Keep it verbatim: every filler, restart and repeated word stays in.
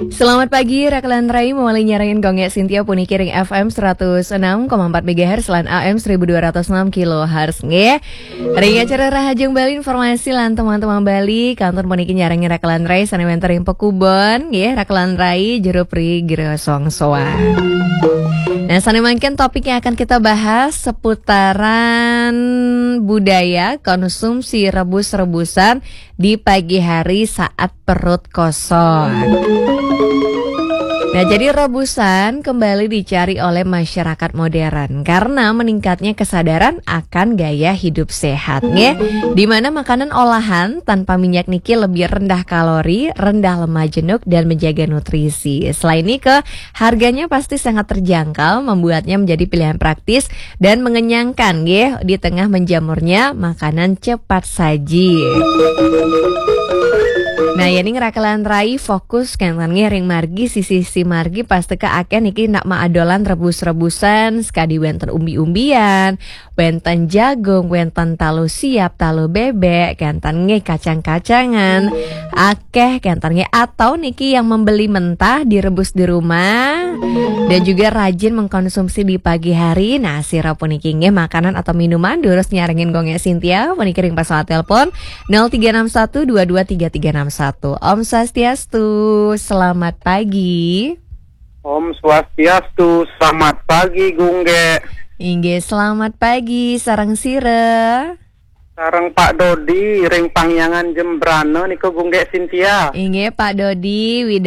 Selamat pagi, Rakelan Rai, mawali nyarengin Gung Gek Sintia puniki ring F M seratus enam koma empat megahertz lan A M seribu dua ratus enam kilohertz, nggih. Ring acara Rahajeng Bali, informasi lan teman-teman Bali, kantun puniki nyarengin Rakelan Rai sane wenten ring Pekubon, nggih, Rakelan Rai, Jero Pri, Gero Songsoan. Nah, sane mangkin topik yang akan kita bahas seputaran budaya konsumsi rebus-rebusan di pagi hari saat perut kosong. Nah, jadi rebusan kembali dicari oleh masyarakat modern karena meningkatnya kesadaran akan gaya hidup sehat, nggih. Di mana makanan olahan tanpa minyak niki lebih rendah kalori, rendah lemak jenuh, dan menjaga nutrisi. Selain niki, harganya pasti sangat terjangkau, membuatnya menjadi pilihan praktis dan mengenyangkan, nggih, di tengah menjamurnya makanan cepat saji. Nah, yening Rakelan Rai fokus kenten nggih ring margi, sisi-sisi margi pasti ke akeh niki nak maadolan rebus-rebusan, sekadi wenten umbi-umbian, wenten jagung, wenten talu siap, talu bebek, kenten nggih kacang-kacangan, akeh kenten nggih, atau niki yang membeli mentah direbus di rumah dan juga rajin mengkonsumsi di pagi hari. Nah, sira puniki nggih makanan atau minuman durus nyarengin Gung Gek Sintia puniki ring pesawat telepon nol tiga enam satu dua dua tiga tiga enam satu. Om Swastiastu, selamat pagi. Om Swastiastu, selamat pagi Gung Gek. Inggih, selamat pagi, sareng sira. Sareng Pak Dodi ring Pangyangan Jembrana nika Gung Gek Sintia. Inggih, Pak Dodi,